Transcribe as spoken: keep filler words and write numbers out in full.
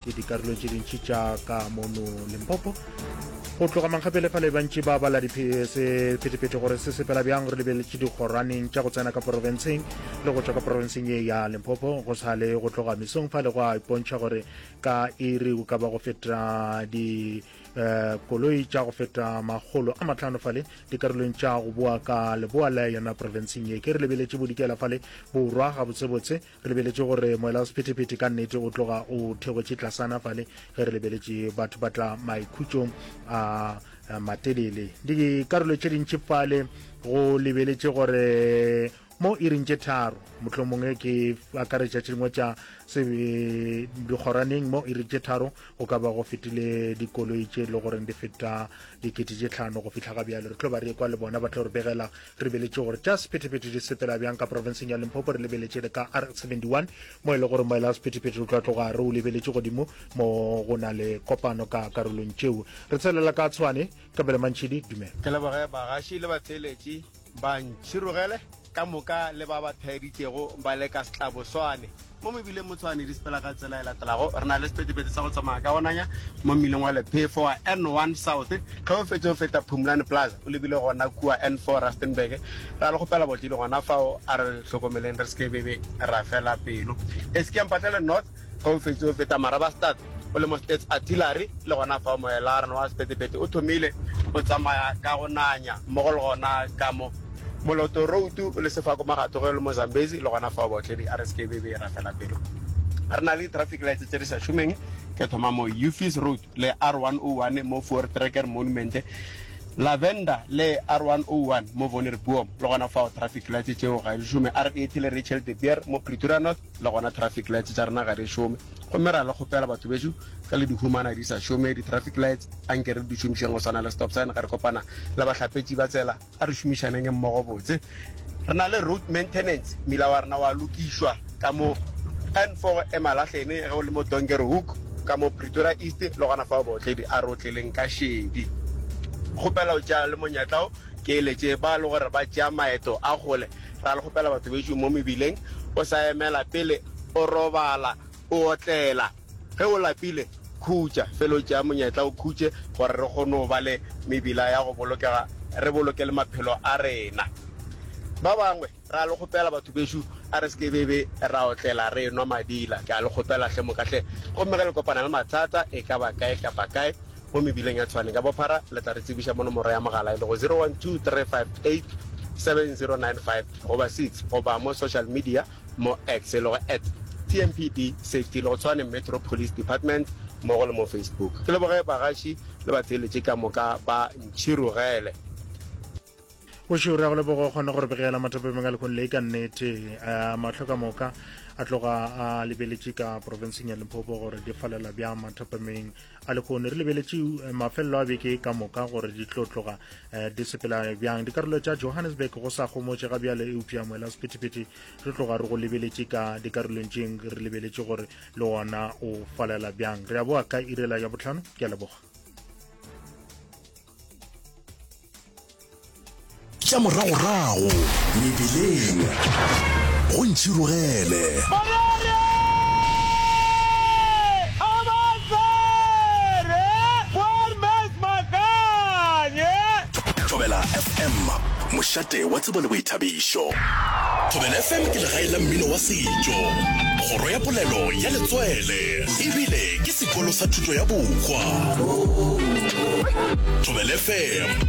Ke dikarolo tše dintši tša ka mono Limpopo. Go tloga mankgapele fale bantši ba bala sephethephethe gore se sepela bjang. Re lebeletše dikgoraneng tša go tsena ka porofenseng le go tšwa ka porofenseng ye ya Limpopo. Go sa le go tloga mesong fale go a ipontšha gore ka iri go ka ba go feta di eh, koloi tša go feta makgolo a matlhano fale dikarolong tša go boa ka leboa la yona porofenseng ye. Ke re lebeletše bodikela fale borwa gabotsebotse, re lebeletše gore moela wa sephethephethe ka nnete o tloga o theogetse tlasana fale ge re lebeletše batho ba tla maikhutšong a matelele. Dikarolo tše dintši fale go lebeletše gore mo iring tše tharo, mohlomongwe ke akaretša tše dingwe tša dikgoraneng, mo iring tše tharo go ka ba go fetile dikoloi tše e le goreng di feta dikete tše tlhano go fihla ga bjale. Re tlo ba re ekwa le bona ba tlo re begela. Re lebeletše gore tša sephethephethe di sepela bjang ka profenseng ya Limpopo. Re lebeletše le ka R seventy-one mo e le gore moela wa sephethephethe o tla tloga re o lebeletše godimo mo go na le kopano ka karolong tšeo. Re tshelela ka Tshwane. Kabelo Mantšhidi, dumela. Ke leboge bagaši le batheeletši ba Ntšhirogele ka moka le ba ba thaeditšego ba le ka Setlaboswane. Mo mebileng mo Tshwane di sepela ka tsela e latelago. Re na le sephethephethe sa go tsamaya ka go nanya mo mmileng wa Lephefo wa N one South ge o fetše o feta Phumlani Plaza o lebile gona kua N four Rustenburg. Ra le kgopela botledi gona fao a re hlokomeleng re se ke bebe ra fela pelo. Eskia Mpahlele North ge o fetše o feta Marabastad o le mo States Artillery le gona fao moela rena wa sephethephethe o thomile o tsamaya ka go nanya mmogo le gona ka mo Moloto Road o le Sefako Magato ge o le mo Zambezi le gona fao baotledi a re se ke bebe ra fela pelo. Re na le di-traffic lights tše di sa šomeng ke thoma mo Ufis Road le R one oh one mo Voortrekker Monument, Lavender le R one oh one mo Vonderboom le gona fao traffic lights tšeo ga di šome, R eighty le Rachel de Beer mo Pretoria North le gona traffic lights tša rena ga di šome. Gomme ra le kgopela batho bešo ge le di humana di sa šome di-traffic lights anke re di šomišeng go swana le stop sign ge re kopana le bahlapetši ba tsela, a re šomišaneng mmogo botse. Re na le road maintenance, mmila wa rena wa lokišwa ka mo N four Emalahleni ge o le mo Donkerhoek ka mo Pretoria East le gona fao baotledi a re otleleng ka šedi. Kgopela o tšea le monyetla o ke eletše ba le gore ba tšea maeto a kgole, ra le kgopela batho bešo mo mebileng o sa emela pele o robala o otlela. Ge o lapile, khutša. Fela o tšea monyetla o khutše gore re kgone go ba le mebila ya go bolokega, re boloke le maphelo a rena. Ba bangwe, ra le kgopela batho bešo, a re se ke be be ra otlela re enwa madila. Ke a le kgopela hle moka hle. Gomme ge le kopana le mathata e ka ba kae kapa kae mo mebileng ya Tshwane ka bophara, le tla re tsebiša mo nomoro ya mogala e lego zero one two three five eight seven zero nine five goba six goba mo social media mo X e lego at T M P D Safety le go Tshwane Metro Police Department mmogo le mo Facebook. Ke leboge bagaši le batheeletši ka moka ba Ntšhirogele. Bošego re a go leboga o kgone go re begela mathapameng a lehono le ka nnete. Uh, mahlo ka moka a tloga a lebeletše ka profenseng ya Limpopo gore di falela bjang mathapameng a lehono. Re lebeletše mafelelo a beke ka moka gore di tlo tloga eh, di sepela bjang. Dikarolo tša Johannesburg go sa gomotše ga bjale, eupša moela sephethephethe re tloga re go lebeletše ka dikarolong tšeng, re lebeletše gore le ona o falela bjang. Re a boa ka irela ya botlhano. Ke a leboga. Tša moragorago mebileng go Ntšhirogele. Thobela F M, mošate wa tsebo le boithabišo. Thobela F M ke legae la mmino wa setšo, kgoro ya polelo ya letswele, ebile ke sekolo sa thuto ya bohwa. Thobela F M.